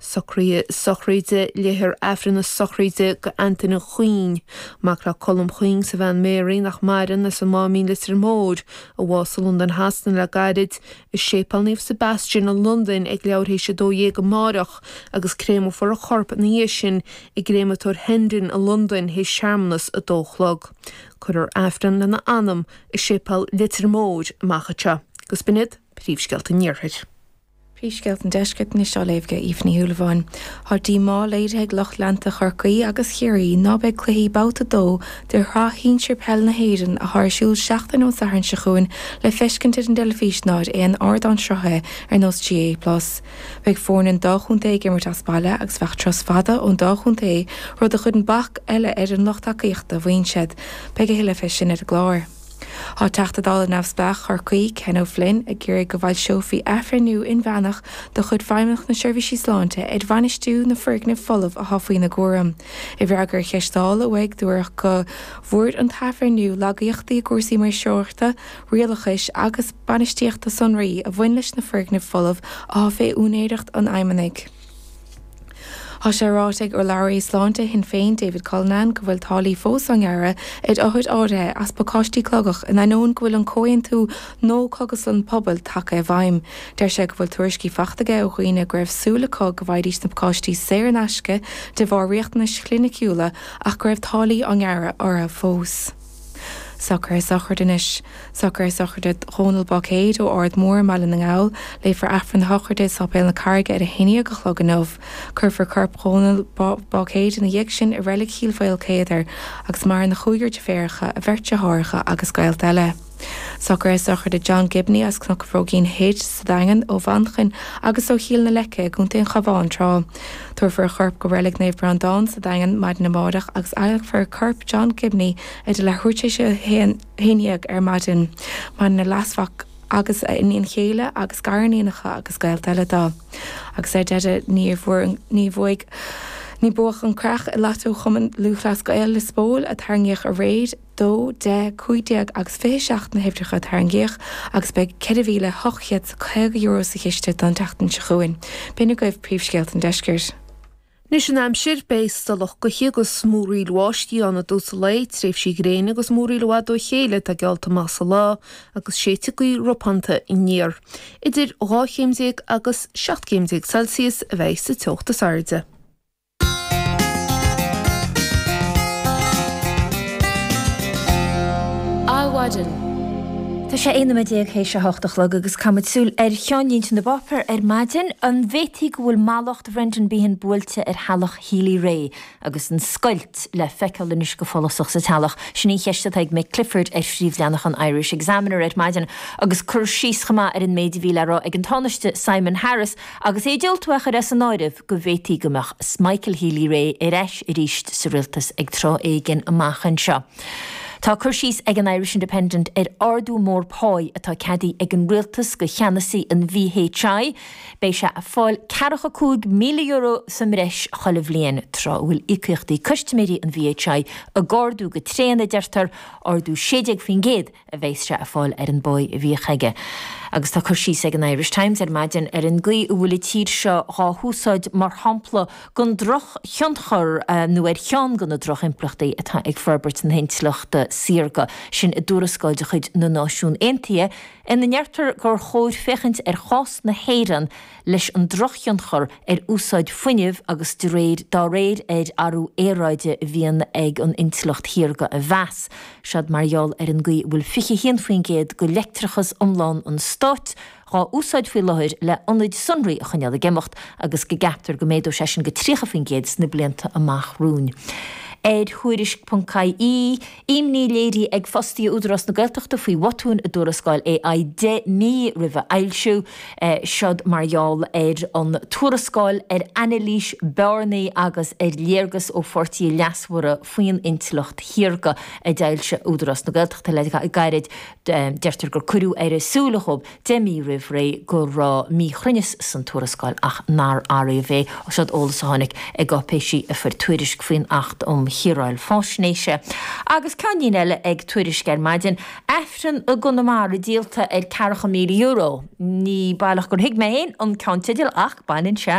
Socruithe sochraide Léifear Aifreann na sochraide do Antaine Chuinn, mac le Colm Chuinn 's a bhean Mary, nach maireann, as an Máimín Leitir Móir, a bhásaigh i Londain Shasana le gairid, i Séipéal Naomh Sebastian i Londain ag leathuair théis 12 amáireach agus créamfar a chorp ina dhiaidh sin i gCréamatóir Hendon i Londain théis searmanas a dó a chlog. Cuirfear Aifreann lena anam i Séipéal Leitir Móir amach anseo. Agus b'in iad príomhscéalta an Iarthair. Príomhscéalta an Deiscirt anois á léamh ag Aoife Ní Shúilleabháin. Tá díomá léirithe ag lucht leanta Chorcaí agus Chiarraí ná beidh cluichí Babhta 2 de Shraith Shinsir Peile na hÉireann atá ar siúl seachtain ón Satharn seo chugainn le feiscint ar an dteilifís ná ar aon ardán sruthaithe ar nós GAA Plus. Beidh foirne an dá chontae ag imirt as baile agus bheadh turas fada ón dá chontae, rud a chuireann bac eile ar an lucht tacaíochta, a mhaíonn siad. Beidh a thuilleadh fé sin ar an gclár. Tá Teachta Dála Neamhspleách Chorcaí, Ken O'Flynn, ag iarraidh go bhfoilseofaí athbhreithniú inmheánach de chuid Feidhmeannacht na Seirbhísí Sláinte ar bhainistiú na foirgneamh folamh atá faoina gcúram. I bhfreagra ar cheist Dála uaidh, dúradh go bhfuair an t-athbhreithniú lagaíochtaí i gcúrsaí maoirseoireachta, rialachais agus bainistíochta sonraí a bhain leis na foirgnimh folamh atá fé úinéireacht an Fheidhmeannaigh. Tá sé ráite ag urlabhraí sláinte Shinn Féin David Cullinane go bhfuil táillí fós á ngearradh ar othair áirithe as pacáistí cogaidh in ainneoin go bhfuil an comhaontú No Cógaslann Pobail tagtha i bhfeidhm. Deir sé go bhfuil tuairiscí faighte aige ó dhaoine go raibh súil acu go bhfaighidís na pacáistí saor in aisce de bharr riachtanais chliniciúla ach go raibh táillí á ngearradh orthu fós. Socruithe sochraide anois. Socruithe sochraide Dhónal Báicéid ó Ard Mór i mBaile na nGall. Léifear Aifreann a shochraide i Sáipéal na Carraige ar a haon dhéag a chlog inniu. Cuirfear corp Dhónal Báicéid ina dhiaidh sin i Reilig Chill Mhaoilchéadair agus maireann a chúigear deirféaracha, a bheirt deartháireacha agus gaolta eile. Socruithe sochraide John Gibney as Cnoc an Bhróigín Thoir sa Daingean, ó Mhanchain agus ó Chill na Leice i gContae an Chabháin tráth. Tabharfar a chorp go Reilig Naomh Breandán sa Daingean maidin amárach agus adhlacfar corp John Gibney idir leathuair tar éis a 11 ar maidin. Maireann a leasmhac agus a iníon chéile agus gariníonacha agus gaolta eile dó. Agus ar deireadh ní bhuaigh ní buadh an creach i Lató Chumann Lúthchleas Gael Lios Póil a tarraingíodh aréir. 2, 10, 15 agus 27 na huimhreacha a tarraingíodh agus beidh €4,850 sa chiste don tseachtain seo chugainn. B'in agaibh príomhscéalta an deiscirt. Anois an aimsir, beidh stolladh gaoithe agus múraíl bháistí ann i dtús an lae, tréimhsí gréine agus múraíl i bhfad ó chéile atá geallta amach sa lá agus séidfidh gaoth ropánta aniar. Idir 12 chéim agus 17 céim Celsius a bheidh sa teocht is airde. Adhmhaidin. Tá sé 11 nóiméad théis a hocht a chlog agus caithfimid súil ar cheannlínte na bpáipéar ar maidin. An bhféadfaí go bhfuil mallacht Bhrendan Behan buailte ar theaghlach Healy-Rae agus an scoilt le feiceáil anois go follasach sa teaghlach? Sin í an cheist atá ag Mick Clifford ar phríomhleathanach an Irish Examiner ar maidin agus cur síos chomh maith ar an méid a bhí le rá ag an Tánaiste Simon Harris agus é ag diúltú é a chur as an áireamh. go bhféadfaí go mbeadh Michael Healy-Rae ar ais arís sa rialtas ag tráth éigin amach anseo. Tá cur síos ag an Irish Independent ar ardú mór páí atá ceadaithe ag an rialtas do cheannasaí an VHI. Beidh sé ag fáil ceathracha €5,000 sa mbreis chuile bhliain, tráth a bhfuil íocaíochtaí custaiméirí an VHI ag ardú go tréan, a deirtear, ardú 16%. a bheas sé ag fáil ar an bpáí a bhíodh aige. Agus tá cur síos ag an Irish Times ar maidin ar an gcaoi a bhfuil an tír seo dhá húsáid mar shampla den drochthionchar nó ar cheann de na drochimpleachtaí atá ag forbairt na hintleachta saorga, sin i dtuarascáil de chuid na Náisiún Aontaithe ina ndeirtear gur chóir féachaint ar chás na hÉireann leis an drochthionchar ar úsáid fuinnimh agus de réir dá réir ar athrú aeráide a bhíonn ag an intleacht shaorga a mheas. Seod mar gheall ar an gcaoi a bhfuil 21% de leictreachas iomlán an stáit dhá úsáid faoi láthair le ionaid sonraí a choinneáil ag imeacht agus go gceaptar go méadóidh sé sin go 30% sna blianta amach romhainn. Ar Tuairisc.ie, Imní léirithe ag fostaithe Údarás na Gaeltachta faoi bhotúin i dtuarascáil AI 10 mí roimh a fhoilsiú. Seod mar gheall ar an tuarascáil ar anailís bearnaí agus ar léargas ó pháirtithe leasmhara faoin intleacht shaorga a d'fhoilsigh Údarás na Gaeltachta le gairid. Deirtear gur cuireadh ar a súile dhóibh 10 mí roimh ré go raibh míchruinneas san tuarascáil ach nár áiríodh é. Seod eolas a tháinig i gcáipéisí a fuair Tuairisc faoin Acht um Shaoráil Faisnéise. Agus ceannlíne eile ag Tuairisc ar maidin, Aifreann i gConamara díolta ar €40,000. Ní baileach gur thuig mé féin an ceannteideal ach baineann sé.